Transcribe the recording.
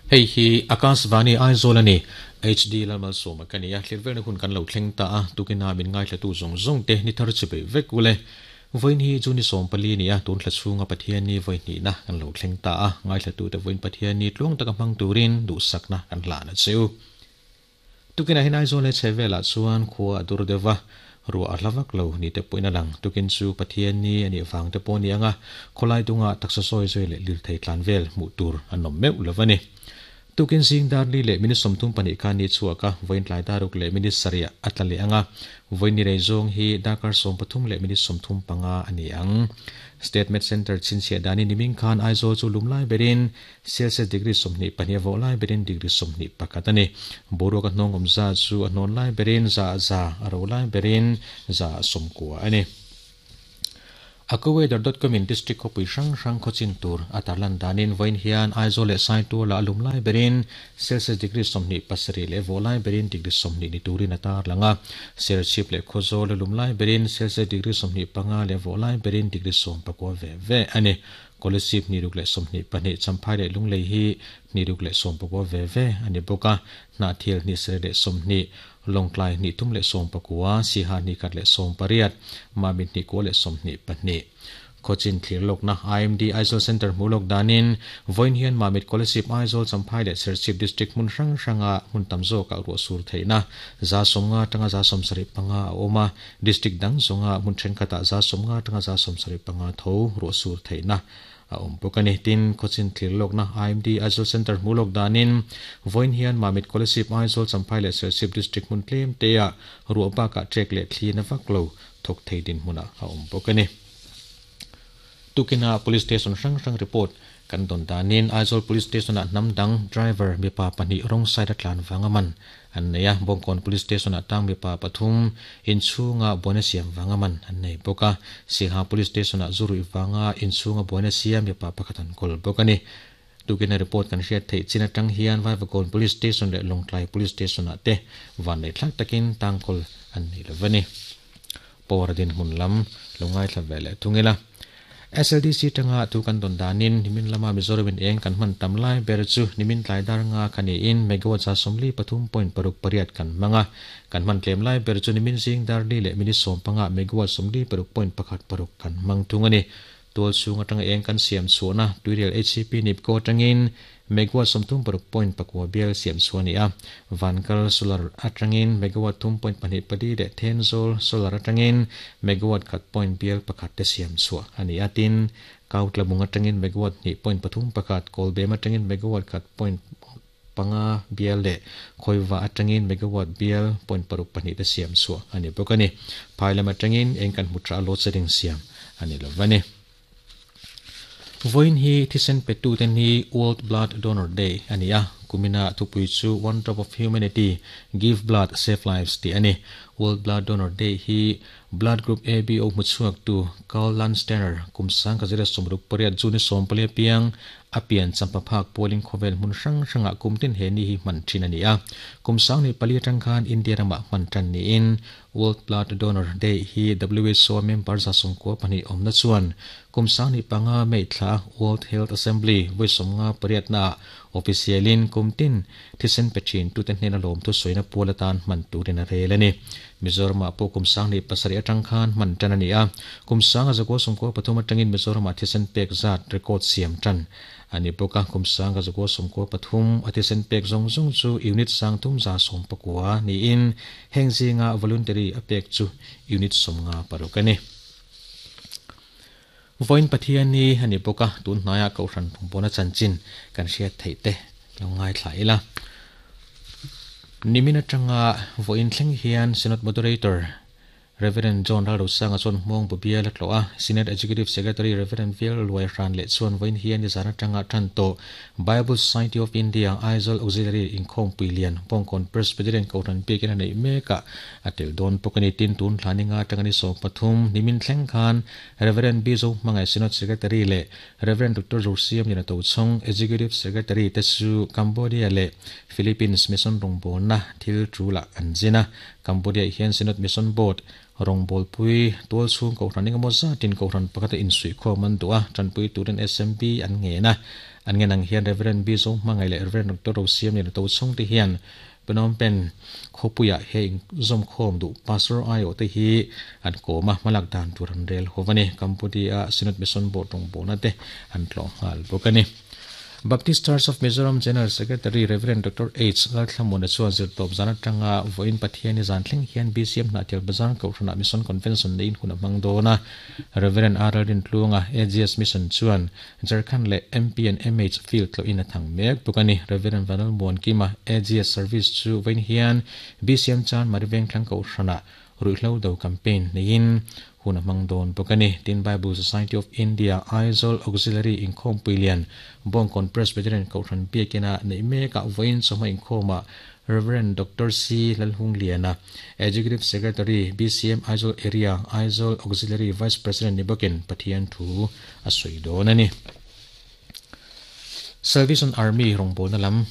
Hei hi Akashvani Aizawl a ni. HD Lalmalsawma ka ni a, thlir velna hun kan lo thleng ta a, tukina min ngaithlatu zawng zawng te ni thar chi beih vek ule. Vawiin hi June 14 a ni a, tun thla chhunga Pathianni vawi hnihna kan lo thleng ta a, ngaithlatute vawiin Pathianni tluang taka hmang turin duhsakna kan hlan a che u. Tukinah hian Aizawl leh chhehvelah chuan khua a dur deuh va, ruah a hla vak lo ni te pawhin a lang. Tukin chu Pathianni a nih vang te pawh a ni ang a, khawlai dungah taksa sawi zui leh lirthei tlan vel hmuh tur an awm meuh lo a ni. Tukin zing dar li leh minute 32 khan ni chhuak a, vawiin tlai dar ruk leh minute sarih a tla leh ang a, vawiin ni rei zawng hi darkar 13 leh minute 35 a ni ang. State Med Centre chhinchhiah danin niming khan Aizawl chu lum lai berin Celsius degree 22 a vawh lai berin degree 21 a ni. Boruak a hnawng awm zat chu a hnawn lai berin 100, a ro lai berin 90 a ni. Aquaweather dot com in district khawpui hrang hrang khawchin tur a tarlan danin vawiin hian Aizawl leh Saituala a lum lai berin Celsius degree 27 leh vawh lai berin degree 20 ni turin a tarlang a. Serchhip leh Khawzawl a lum lai berin Celsius degree 25 leh vawh lai berin degree 19 ve ve a ni. Kolasib 622, Champhai leh Lunglei hi 619 ve ve a ni bawk a, Hnahthil 720, Lawngtlai 319, Siha 118, Mami 222. Khawchin thlir lawkna IMD Aizawl Centre hmuh lawk danin vawiin hian Mamit Kolasib Aizawl Champhai leh Serchhip District hmun hrang hranga hmun tam zawkah ruah sur theihna 150 atanga 75 a awm a, District dang zawnga hmun thenkhatah 150 atanga 75 tho ruah sur theihna a awm bawk a ni. Tin, khawchin thlir lawkna IMD Aizawl Centre hmuh lawk danin vawiin hian Mamit Kolasib Aizawl Champhai leh Serchhip District hmun tlem teah ruah bakah trek leh thli na vak lo thawk thei dinhmunah a awm bawk a ni. Tukina Police Station hrang hrang report kan dawn danin Aizawl Police Station-ah hnam dang driver mipa pahnih wrong side a tlan vanga man an nei a, Bawngkawn Police Station-ah tang mipa pathum inchhunga buaina siam vanga man an nei bawk a, Singha Police Station-ah zu ruih vanga inchhunga buaina siam mipa pakhat an kawl bawk a ni. Tukina report kan hriat theih chin atang hian Vaivakawn Police Station leh Lawngtlai Police Station-ah te vanneih thlak takin tang kawl an nei lo va ni. Power dinhmun lam lo ngaithla ve leh thung ila. SLDC tanga thu kan dawn danin nimin lama Mizoram in eng kan hman tam lai ber chu nimin tlai dar nga kha niin megawatt 43.68 kan hmang a. Kan hman tlem lai ber chu nimin zing dar li leh minute 15 megawatt 46.16 kan hmang thung a ni. Tual chhung atanga eng kan siam chhuahna tuirial HCP Nipco atangin megawatt 36.9 bial siam chhuah a ni a. Vankal solar atangin megawatt 3.24 leh Thenzawl solar atangin megawatt 1 point bial pakhat te siam chhuah a ni a. Tin, Kautlabung atangin megawatt 2.31, Kawlbem atangin megawatt 1 point panga bial leh Khawiva atangin megawatt bial point paruk pahnih te siam chhuah a ni bawk a ni. Phai lam atangin eng kan hmu tha load shedding siam a ni lo va ni. Vawiin hi thisen petu te ni World Blood Donor Day a ni a, kumina thupui chu One Drop of Humanity, Give Blood, Save Lives tih a ni. World Blood Donor Day hi Blood Group ABO hmuchhuak tu Karl Landsteiner kum 1968 June 14 piang a pian champa phak pualin khawvel hmun hrang hrangah kum tin he ni hi hman thin a ni a. Kum 14 atang khan India ramah hman tan niin World Blood Donor Day hi WHO member 92 awmna chuan kum 15 May thla World Health Assembly vawi 58 na officialin kum tin thisen pe thin tute hnena lawm thu sawiina pual atan hman turin a rel a ni. Mizoramah pawh kum 17 atang khan hman tan a ni a. Kum 1993 atangin Mizoramah thisen pek zat record siam tan a ni bawk a. Kum 1993 a thisen pek zawng zawng chu unit 3119 niin heng zinga voluntary a pek chu unit 56 a ni. Vawiin Pathianni a ni bawk a, tun hnaiah Kohhran Pawna chanchin kan hriat theih te lo ngaithla ila. Nimin atanga vawiin thleng hian Synod Moderator Reverend John Ralrosanga chuan hmawng bu bial a tlawh a, Synod Executive Secretary Reverend Vial Luai Hran leh chuan vawiin hian nizan atanga tan tawh Bible Society of India Aizawl Auxiliary inkhawmpui lian Bawngkawn Presbyterian Kohhran biakin a neih mekah a tel dawn bawk a ni. Tin, tun thla ninga atanga ni 13 nimin thleng khan Reverend Bizo Hmangaih Synod Secretary leh Reverend Doctor Zosiam Liana Tochhawng Executive Secretary te chu Cambodia leh Philippines Mission rawngbawlna thil tulah an zin a. Cambodia hian Synod Mission Board rawngbawlpui tual chhung kohhran engemaw zatin kohhran pakhata insuihkhawm an duh a, tanpui turin SMB an ngen a. An ngen ang hian Rev. B. Zohmangaih leh Rev. Doctor Rosiamliana Tochhawng te hian Phnom Penh khawpuiah he inzawmkhawm duh Pastor aiawh te hi an kawm a, hmalak dan tur an rel ho a ni. Cambodia-a Synod Mission Board rawngbawlna te an tlawh nghal bawk a ni. Baptist Church of Mizoram General Secretary Rev. Doctor H. Lalthlamuana chuan zirtawp zan atanga vawiin Pathiani zan thleng hian BCM Hnahtial Bazar Kohhranah Mission Convention neiin hun a hmang dawn a. Rev. R. Lalrintluanga, AGS Mission chuan Jharkhand leh MP and MH field tlawhin a thang mek bawk a ni. Rev. Vanal Muankima, AGS Service chu vawiin hian BCM Chan Mari Vengthlang Kohhranah Ruihhlo do campaign neiin hun a hmang dawn bawk a ni. Tin, Bible Society of India, Aizawl Auxiliary inkhawmpui lian Bawngkawn Presbyterian Kohhran biakina neih mekah vawiin chawhma inkhawmah Rev. Doctor C. Lalhungliana, Executive Secretary, BCM Aizawl Area, Aizawl Auxiliary Vice President ni bawkin Pathian thu a sawi dawn a ni. Salvation Army rawngbawlna lam.